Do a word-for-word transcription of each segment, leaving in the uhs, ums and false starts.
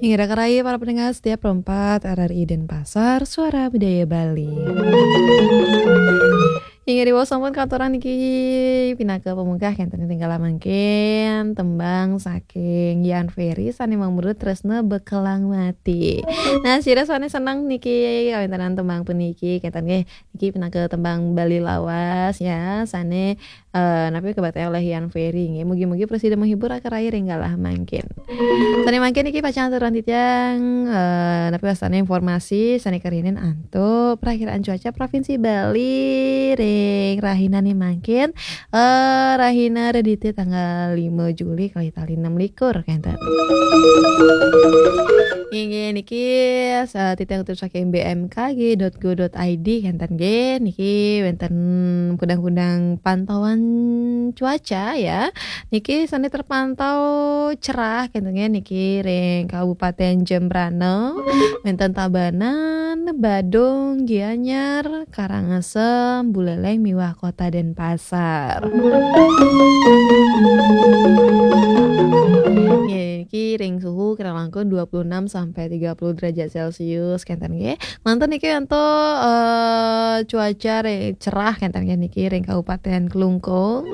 Inggih, raka rayi para pendengar setia Pro empat R R I Denpasar, Suara Budaya Bali. Inggih, diwaos sampun katuran niki pinaka pamungkah, kenten ing galah mangkin tembang saking Yan Ferry sane mamurda Tresna Bekelang Mati. Nah, sira sane seneng niki kawentanan tembang puniki, kenten nggih, niki pinaka tembang Bali lawas ya, sane eh, napi kabakta oleh Yan Ferry nggih. Mugi-mugi prasida menghibur raka rayi ring galah mangkin. Sane mangkin niki pacang aturan titiang, eh, napi wastane informasi sane karihinin antuk Prakiraan Cuaca Provinsi Bali ring rahinane mangkin, eh, rahina Redite tanggal lima Juli kalih tali enam likur, kenten. Inggih niki, eh, titiang kutip saking B M K G dot go dot I D, kenten nggih. Niki wenten kudang-kudang pantauan cuaca ya. Niki sane terpantau cerah, kenten nggih, niki ring Kabupaten Jembrana, wenten Tabanan, Badung, Gianyar, Karangasem, Buleleng miwah Kota Denpasar. Nggih, niki ring suhu kirang langkung dua puluh enam sampai tiga puluh derajat Celcius, kenten nggih. Manten niki antuk, eh, cuaca re-, cerah, kenten nggih, niki ring Kabupaten Klungkung.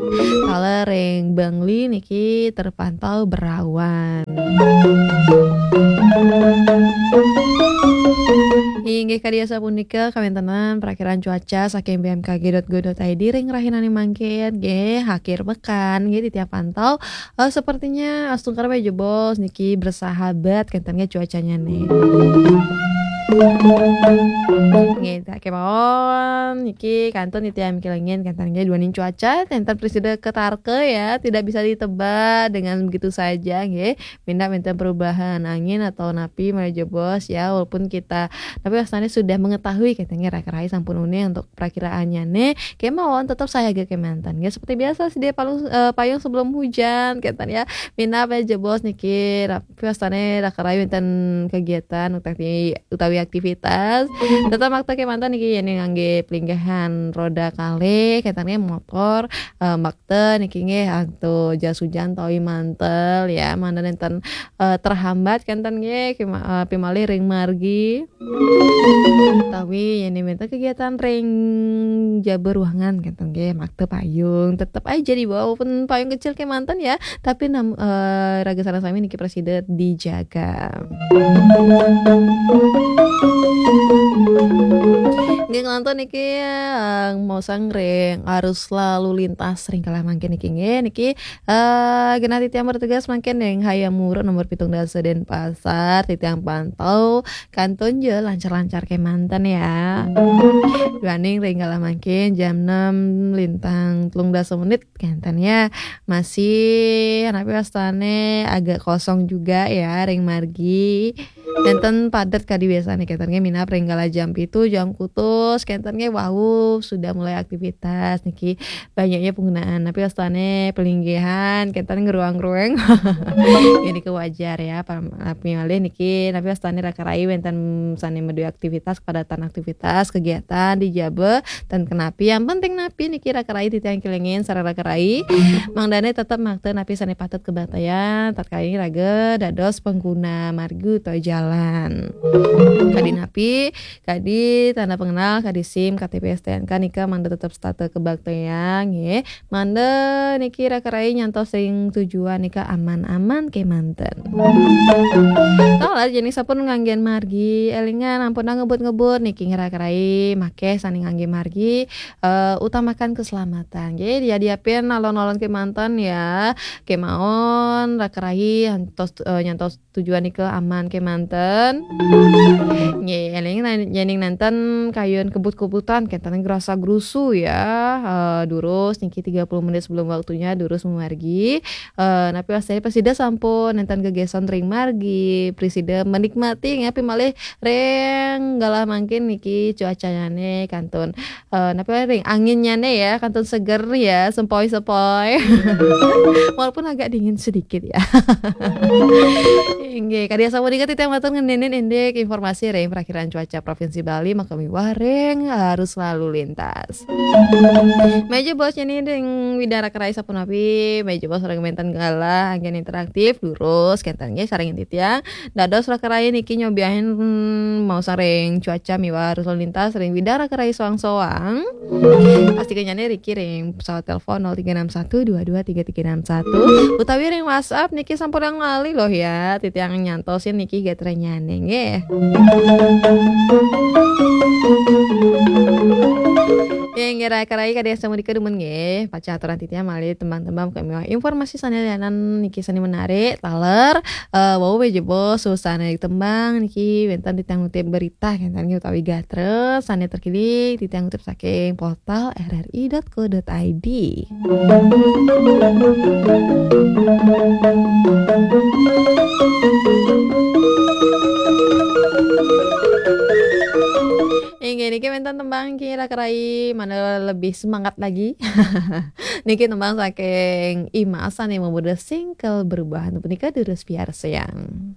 Kala ring Bangli niki terpantau berawan. Inggih, kadi asapunika kawéntenan prakiraan cuaca saking B M K G dot go dot I D ring rahinane mangkin, nggih, akhir pekan, nggih, titiang pantau. Eh, sepertinya astungkara malih jebos niki bersahabat, kenten nggih cuacanya nih. Nggih, tak kemawon, niki kantun titiang mikelingin, kenten nggih duaning cuaca, kenten prasida katarka ya, tidak bisa ditebak dengan begitu saja, nggih. Minab wenten perubahan angin atau napi malih jebos ya, walaupun kita, tapi wastannya sudah mengetahui, kenten nggih raka rayi sampun uning antuk prakiraannya nih, kemawon tetap sayaga kemanten. Ya, seperti biasa, sedia palung, eh, payung sebelum hujan, kenten ya. Minab malih jebos niki, tapi wastannya raka rayi wenten kegiatan utawi, utawi aktivitas. Tetap makta kemanten niki, ya, nih, ngangge pelinggahan roda kalih, kenten nggih motor, eh, makta niki nggih, antuk jas hujan tawi mantel, ya, mangda nenten, eh, terhambat, kenten nggih, kema-, eh, pimalih ring margi. Utawi yen wenten kegiatan ring jaba ruangan kenten nggih, makta payung, tetep aja dibawa, walaupun payung kecil kemanten ya, tapi nam-, eh, raga sareng sami niki prasida dijaga. Nggih, nglantur niki, eh, maosang ring arus lalu lintas ring kala mangkin niki nggih, niki Eh, genah titiang bertugas mangkin ring Hayam Wuruk nomor pitung dasa Denpasar, titiang pantau kantun ja lancar-lancar kemanten ya. Duaning ring kala mangkin jam enam lintang telung dasa menit kenten ya. Masih, napi wastane, agak kosong juga ya ring margi. Nenten padet kadi biasane, kenten nggih, minab ring kala jam pitu, jam kutus, kenten nggih wau sudah mulai aktivitas niki, banyaknya penggunaan. Tapi wastane pelinggihan, kenten ngruang-rueng. Ini ke wajar ya, pa-, tapi malih niki, tapi wastane raka rayi wenten sane maduwe aktivitas, kepadatan aktivitas, kegiatan di jaba, ten kenapi. Yang penting napi niki raka rayi titiang kelingin sareng raka rayi. Mangdane tetep makta napi sane patut kabaktayang, tatkala raga dados pengguna margi utawi jalan. Kadi napi, kadi tanda pengenal, kadi sim, K T P, S T N K nika mangda tetep setata kabaktayang, nggih. Mangda niki raka rayi nyantos ring tujuan nika aman-aman kemanten. Taler jening sampun nganggen margi, elingan ampun ngebut-ngebut niki raka rayi makeh sane ngangge margi, eh, utamakan keselamatan. Nggih, yadiapin alon-alon kemanten ya, kemawon raka rayi nyantos, eh, nyantos tujuan nika aman kemanten. Nggih, eling nan-, yening nenten kayun kebut-kebutan, kenten grasa-grusu ya. Eh, durus niki tiga puluh menit sebelum waktunya durus mamargi. Eh, napi wastane prasida sampun nenten gegesan ring margi, prasida menikmati, napi malih ring galah mangkin niki cuacanyane kantun, eh, napi ring anginnyane ya, kantun seger ya, sempoi-sempoi. Walaupun agak dingin sedikit ya. Inggih, kadi asapunika titiang matur ngeninin indik informasi ring prakiraan cuaca Provinsi Bali maka miwah ring arus lalu lintas. Meja bos cenah ring Widang Raka Rai sapunapi, meja bos ring wénten galah anggén interaktif, durus kénten nggih sareng titiang. Dados Raka Rai niki nyobiahin, hmm, maos ring cuaca miwah arus lalu lintas ring Widang Raka Rai soang-soang. Pastika nyané riki ring pesawat telepon nol tiga enam satu dua dua tiga tiga enam satu utawi ring WhatsApp niki sampun lali loh ya. Titiang nyantosin niki gatrannyané nggih. Ya, inggih Raka Rai kadésa mrika dumun nggih. Pacang aturan titiang malih tembang-tembang kami informasi sané lianan niki sané menarik, taler, eh, wau meja bos, suasana tembang niki wénten titiang ngutip berita kénten nggih utawi gatra sané terkini titiang ngutip saking portal R R I dot co dot I D. Inggih niki wénten tembang niki Raka Rai mana lebih semangat lagi. Niki tembang saking Imas sané mabudal single Berubah punika durus piarsayang.